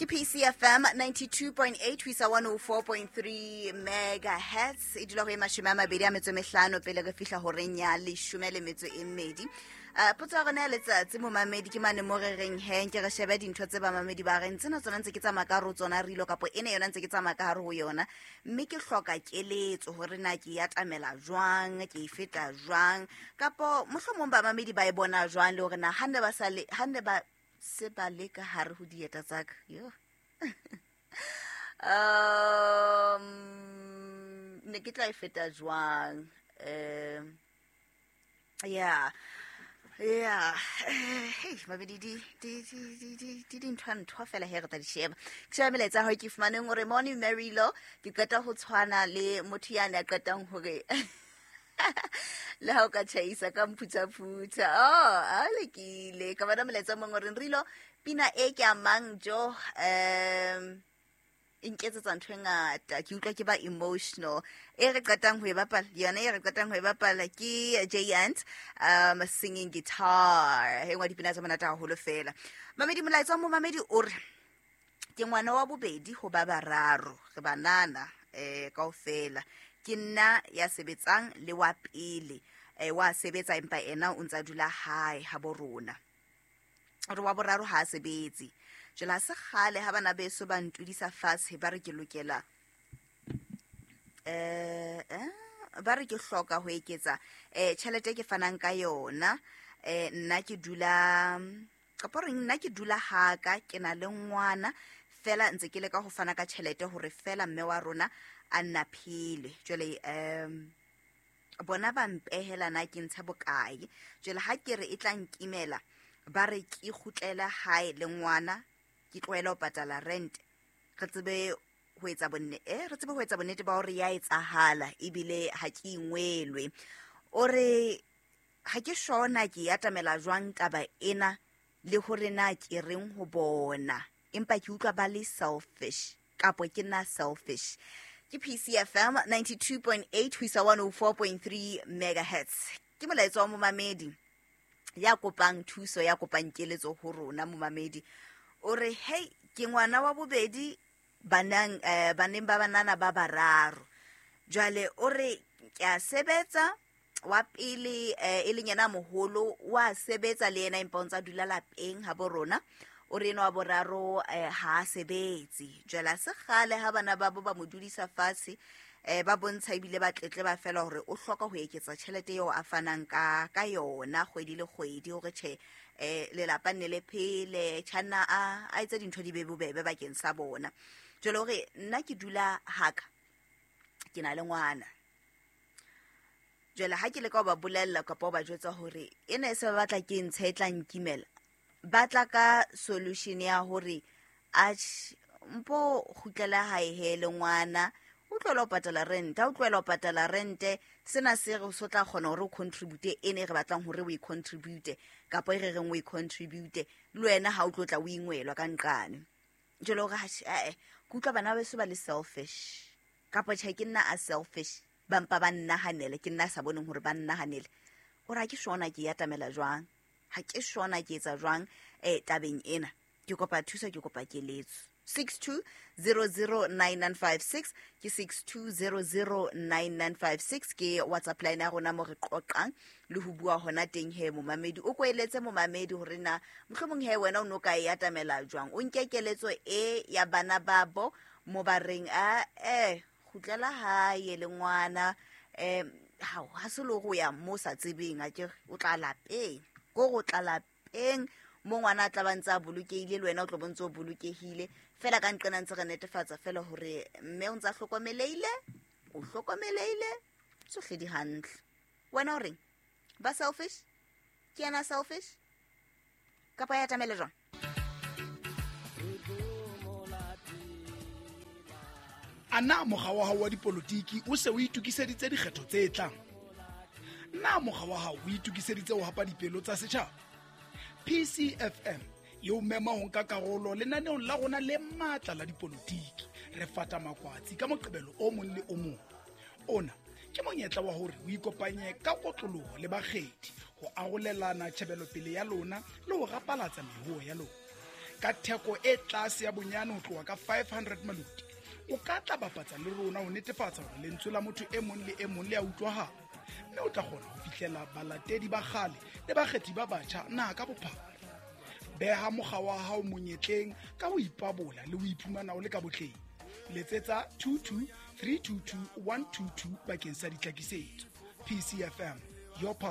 Ke PCFM 92.8 ho isa 104.3 megahertz. E dula ho e 25 pele re fihla horeng ya 12. Potso ya rona ya letsatsi momamedi ke mane mo re reng he nke re shebe dintho tse bamamedi ba reng tsena tsona ntse ke tsamaya ka hare ho tsona rilo kapo ena yona ntse ke tsamaya ka hare ho yona, mme ke hloka keletso hore na ke e atamela jwang, ke e feta jwang, kapo mohlomong bamamedi ba e bona jwang, le hore na ha ne ba sa le, ha ne ba se ba le ka hare ho dieta tsa ka. Yo. Ne ke tla e feta jwang? Yeah. Yeah. Hey, mabedi di di di di di di dintho ntho fela he re tla di sheba. Ke sheba melaetsa ya hao ke fumaneng hore morning Marilo, ke qeta ho tshwana le motho ya ne a qetang hore le ha o ka tjhaisa ka mphuthaphutha. Oh, a lekile. Ka bona molaetsa o mong o reng Rilo, pina e ke amang jo, e nketsetsa ntho e ngata, ke utlwa ke ba emotional. E re qetang ho e bapala, yona e re qetang ho e bapala ke J Ant, singing guitar. E nngwe ya dipina tse monate haholo fela. Mamedi, molaetsa wa momamedi o re ke ngwana wa bobedi ho ba bararo, re banana kaofela. Ke nna ya sebetsang le wa pele, wa sebetsa empa ena o ntsa dula hae ha bo rona. Re wa boraro ha a sebetse. Jwale ha se kgale ha bana beso ba ntudisa fatshe ba re ke lokela, ba re ke hloka ho eketsa tjhelete e ke fanang ka yona. Nna ke dula, kapa reng, nna ke dula haka, ke na le ngwana fela ntse ke leka ho fana ka tjhelete hore fela mme wa rona a nna phele. Jwale bona ba mpehela na ke ntsha bokae. Jwale ha ke re e tla nkimela, ba re ke kgutlele hae le ngwana, ke tlohele ho patala rent, re tsebe ho etsa bonne, re tsebe ho etsa bonnete ba hore ya etsahala ebile ha ke ingwelwe. O re ha ke shona ke e atamela jwang taba ena le hore na ke reng ho bona, empa ke utlwa ba le selfish kapo ke nna selfish. Ke PCFM 92.8 ho isa 104.3 megahertz. Ke molaetsa wa momamedi ya kopang thuso, ya kopang keletso ho rona. Momamedi o re hey, ke ngwana wa bobedi baneng ba banana ba bararo. Jwale o re ke a sebetsa, wa pele e leng yena moholo wa sebetsa le yena empa o ntsa dula lapeng ha bo rona. O re enwa wa boraro ha a sebetse. Jwale ha se kgale ha bana ba bo ba mo dudisa fatshe, ba bontsha ebile ba tletleba fela hore o hloka ho eketsa tjhelete eo a fanang ka yona kgwedi le kgwedi, hore tjhe, lelapa nne le phele, tjhanna a etse dintho di be bobebe bakeng sa bona. Jwale hore nna ke dula haka, ke na le ngwana. Jwale ha ke leka ho ba bolella kapa ho ba jwetsa hore ena e se ba batla ke ntshe e tla nkimela, ba tla ka solution ya hore atjhe, mpo kgutlela hae he le ngwana, o tlohela ho patala rent. Ha o tlohela ho patala rent, sena se re so tla kgona hore o contribute ene e re batlang hore o e contribute, kapa e re reng o e contribute, le wena ha o tlo tla o ingwelwa ka nqane. Jwale hore atjhe, ke utlwa bana beso ba le selfish, kapa tjhe ke nna a selfish, ba mpa ba nnahanele, ke nna a sa boneng hore ba nnahanele. O re ha ke shona ke e atamela jwang, ha ke shona ke etsa jwang tabeng ena. Ke kopa thuso, ke kopa keletso. 62009956 ke 62009956 ke WhatsApp line ya rona mo re qoqang le ho bua hona teng he momamedi. O koeletse momamedi hore na mohlomong he wena o no ka e atamela jwang, o nke keletso e ya bana babo mo ba reng a kgutlela hae le ngwana, hao, ha se le hore o ya mo sa tsebeng, a ke o tla lapeng, ko re o tla lapeng mo ngwana a tla ba ntse a bolokehile, le wena o tlo bo ntse o bolokehile fela. Ka nqena ntse re netefatsa fela hore mme o ntse a hlokomelehile, o hlokomelehile, tsohle di hantle. Wena o reng? Ba selfish? Ke yena selfish? Kapa ya atamele jwang? A na mokga wa hao wa dipolotiki o se o itokiseditse dikgetho tse tlang? Na mokga wa hao o itokiseditse ho hapa dipelo tsa setjhaba? PCFM e o mema ho nka karolo lenaneong la rona le matla la dipolotiki. Re fata makwatsi ka Moqebelo o mong le o mong. Ona ke monyetla wa hore o ikopanye ka kotloloho le bakgethi ho arolelana tjhebelopele ya lona le ho rapalatsa meruo ya lona. Ka theko e tlase ya bonyane ho tloha ka 500 maluti, o ka tla bapatsa le rona ho netefatsa hore lentswe la motho e mong le e mong le a utlwahala, mme o tla kgona ho fihlela balatedi ba kgale le bakgethi ba batjha naha ka bophara. Beha mokga wa hao monyetleng ka ho ipabola le ho iphumana o le ka botleng. Letsetsa 22 322 122 bakeng sa ditlhakisetso. PCFM, your power.